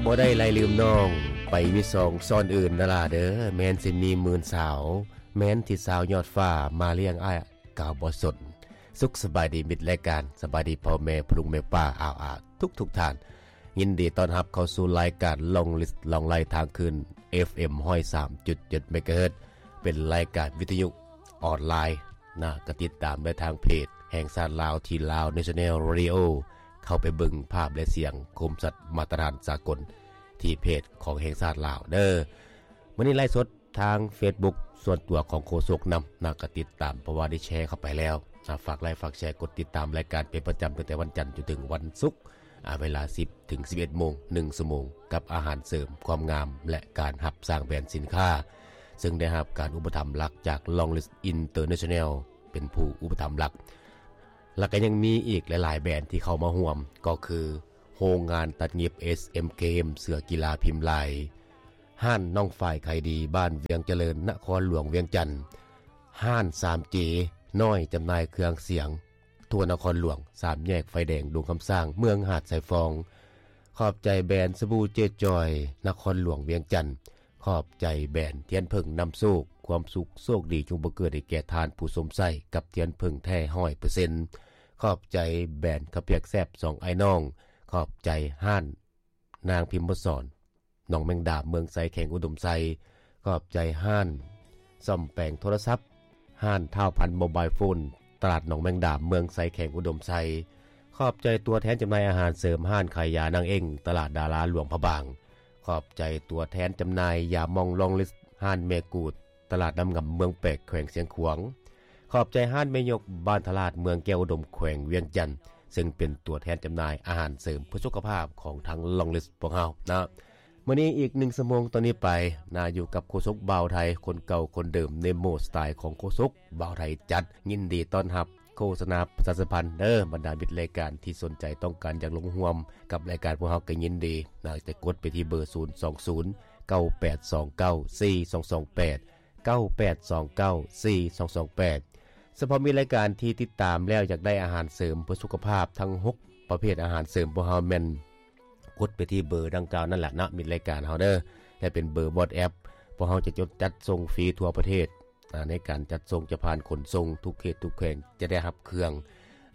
ບໍ່ໄດ້ໄລ່ລືມນ້ອງ ໄປມີສອງຊ້ອນອື່ນນະລາເດີ ແມ່ນຊິມີໝື່ນສາວ ແມ່ນທີ່ສາວຍອດຟ້າ ມາລ້ຽງອ້າຍກະບໍ່ສົນ. ສຸກສະບາຍດີມິດລາຍການ ສະບາຍດີພໍ່ແມ່ພໍ່ລຸງແມ່ປ້າອາວອາທຸກໆທ່ານ. ຍິນດີຕ້ອນຮັບເຂົ້າສູ່ລາຍການ Long List ລ່ອງໄລ່ທາງຄືນ ເອັຟເອັມ ຮ້ອຍສາມຈຸດເຈັດ ເມກາເຮີດ ເປັນລາຍການວິທະຍຸອອນລາຍນະ ກະຕິດຕາມໄດ້ທາງເພຈແຫ່ງຊາດລາວ ທີ່ Lao National Radio ເຂົ້າໄປເບິ່ງພາບ ແລະ ສຽງຄົມຊັດມາດຕະຖານສາກົນ ທີ່ເພຈຂອງແຫ່ງຊາດລາວເດີ. ມື້ນີ້ໄລຟ໌ສົດທາງເຟສບຸກສ່ວນຕົວຂອງໂຄສົກນຳນະ ກະຕິດຕາມ ເພາະວ່າໄດ້ແຊເຂົ້າໄປແລ້ວນະ. ຝາກໄລຟ໌ ຝາກແຊ ກົດຕິດຕາມລາຍການເປັນປະຈຳ ຕັ້ງແຕ່ວັນຈັນຈົນເຖິງວັນສຸກ ອາ ເວລາສິບ ເຖິງ ສິບເອັດໂມງ ໜຶ່ງຊົ່ວໂມງ ກັບອາຫານເສີມຄວາມງາມ ແລະ ການຮັບສ້າງແບຣນສິນຄ້າ ເຊິ່ງໄດ້ຮັບການອຸປະຖຳຫຼັກຈາກ Long List International ເປັນຜູ້ອຸປະຖຳຫຼັກ. ແລ້ວກໍຍັງມີອີກຫຼາຍໆແບຣນທີ່ເຂົ້າມາຮ່ວມ ກໍຄືໂຮງງານຕັດຫຍິບ ເອສເອັມ ເກມ ເສືອກິລາພິມລາຍ, ຮ້ານນ້ອງຝ້າຍຂາຍດີ ບ້ານວຽງຈະເລີນ ນະຄອນຫຼວງວຽງຈັນ, ຮ້ານ ສາມເຈ ນ້ອຍ ຈຳໜ່າຍເຄື່ອງສຽງ ທົ່ວນະຄອນຫຼວງ, ສາມແຍກໄຟແດງ ດົງຄຳສ້າງ ເມືອງຫາດຊາຍຟອງ. ຂອບໃຈແບຣນສະບູເຈຈອຍ ນະຄອນຫຼວງວຽງຈັນ. ຂອບໃຈແບຣນທຽນເຜິ້ງນຳໂຊກ ຄວາມສຸກໂຊກດີຈົ່ງບັງເກີດໃຫ້ແກ່ທ່ານຜູ້ຊົມໃຊ້ ກັບທຽນເຜິ້ງແທ້ຮ້ອຍເປີເຊັນ. ຂອບໃຈແບຣນເຂົ້າປຽກແຊບສອງອ້າຍນ້ອງ. ຂອບໃຈຮ້ານນາງພິມມະສອນ ໜອງແມງດາ ເມືອງໄຊ ແຂວງອຸດົມໄຊ. ຂອບໃຈຮ້ານສ້ອມແປງໂທລະສັບ ຮ້ານທ້າວພັນໂມບາຍໂຟນ ຕະຫຼາດໜອງແມງດາ ເມືອງໄຊ ແຂວງອຸດົມໄຊ. ຂອບໃຈຕົວແທນຈຳໜ່າຍອາຫານເສີມ ຮ້ານຂາຍຢານາງເອັ້ງ ຕະຫຼາດດາລາຫຼວງພະບາງ. ຂອບໃຈຕົວແທນຈຳໜ່າຍຢາໝອງ Long List ຮ້ານແມ່ກູດ ຕະຫຼາດນ້ຳງຳ ເມືອງແປກ ແຂວງຊຽງຂວາງ. ຂອບໃຈຮ້ານແມ່ຍົກ ບ້ານທະລາດ ເມືອງແກ້ວອຸດົມ ແຂວງວຽງຈັນ ເຊິ່ງເປັນຕົວແທນຈຳໜ່າຍອາຫານເສີມເພື່ອສຸຂະພາບຂອງທາງ Long List ພວກເຮົານະ. ມື້ນີ້ອີກໜຶ່ງຊົ່ວໂມງຕໍ່ນີ້ໄປນະ ຢູ່ກັບໂຄສົກບ່າວໄທ ຄົນເກົ່າຄົນເດີມ ໃນໂໝດສະໄຕຂອງໂຄສົກບ່າວໄທຈັດ. ຍິນດີຕ້ອນຮັບ ໂຄສະນາປະຊາສຳພັນເດີ ບັນດາມິດລາຍການທີ່ສົນໃຈຕ້ອງການຢາກລົງຮ່ວມກັບລາຍການພວກເຮົາກໍຍິນດີນະ ຈະກົດໄປທີ່ເບີ ສູນສອງສູນ ເກົ້າແປດສອງເກົ້າ ສີ່ສອງສອງແປດ ເກົ້າແປດສອງເກົ້າ ສີ່ສອງສອງແປດ. ສະເພາະມີລາຍການທີ່ຕິດຕາມແລ້ວຢາກໄດ້ອາຫານເສີມເພື່ອສຸຂະພາບທັງຫົກປະເພດອາຫານເສີມພວກເຮົາແມ່ນກົດໄປທີ່ເບີດັ່ງກ່າວນັ້ນແຫຼະເນາະ ມິດລາຍການເຮົາເດີ ແລະ ເປັນເບີ WhatsApp ພວກເຮົາຈະຈົດຈັດສົ່ງຟຣີທົ່ວປະເທດ. ອາ ໃນການຈັດສົ່ງຈະຜ່ານຂົນສົ່ງທຸກເຂດທຸກແຂວງ ຈະໄດ້ຮັບເຄື່ອງ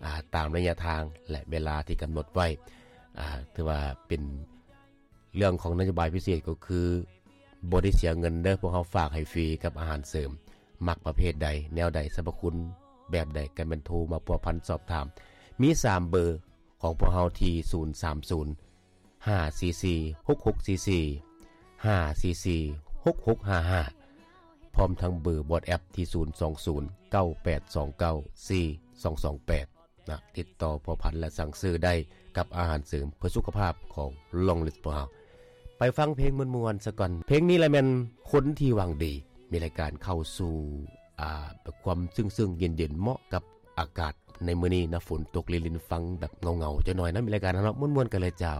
ອາ ຕາມໄລຍະທາງ ແລະ ເວລາທີ່ກຳນົດໄວ້. ອາ ຖືວ່າເປັນເລື່ອງຂອງນະໂຍບາຍພິເສດ ກໍຄືບໍ່ໄດ້ເສຍເງິນເດີ ພວກເຮົາຝາກໃຫ້ຟຣີກັບອາຫານເສີມ. ມັກປະເພດໃດ ແນວໃດ ສັບພະຄຸນແບບໃດ ກໍແມ່ນໂທມາພົວພັນສອບຖາມ. ມີສາມເບີຂອງພວກເຮົາທີ່ ສູນສາມສູນ ຫ້າສີ່ສີ່ ຫົກຫົກສີ່ສີ່ ຫ້າສີ່ສີ່ ຫົກຫົກຫ້າຫ້າ ພ້ອມທັງເບີ WhatsApp ທີ່ ສູນສອງສູນ ເກົ້າແປດສອງເກົ້າ ສີ່ສອງສອງແປດ ນະ ຕິດຕໍ່ພົວພັນ ແລະ ສັ່ງຊື້ໄດ້ກັບອາຫານເສີມເພື່ອສຸຂະພາບຂອງ Long List ພວກເຮົາ. ໄປຟັງເພງມ່ວນໆຊະກ່ອນ. ເພງນີ້ລະແມ່ນຄົນທີ່ຫວັງດີ. ມີລາຍການເຂົ້າສູ່ ອາ ແບບຄວາມຊຶ້ງໆເຢັນໆ ເໝາະກັບອາກາດໃນມື້ນີ້ນະ ຝົນຕົກລິນໆ ຟັງແບບເຫງົາໆຈັກໜ້ອຍນະ. ມີລາຍການເຮົາເນາະ ມ່ວນໆກັນເລີຍເຈົ້າ.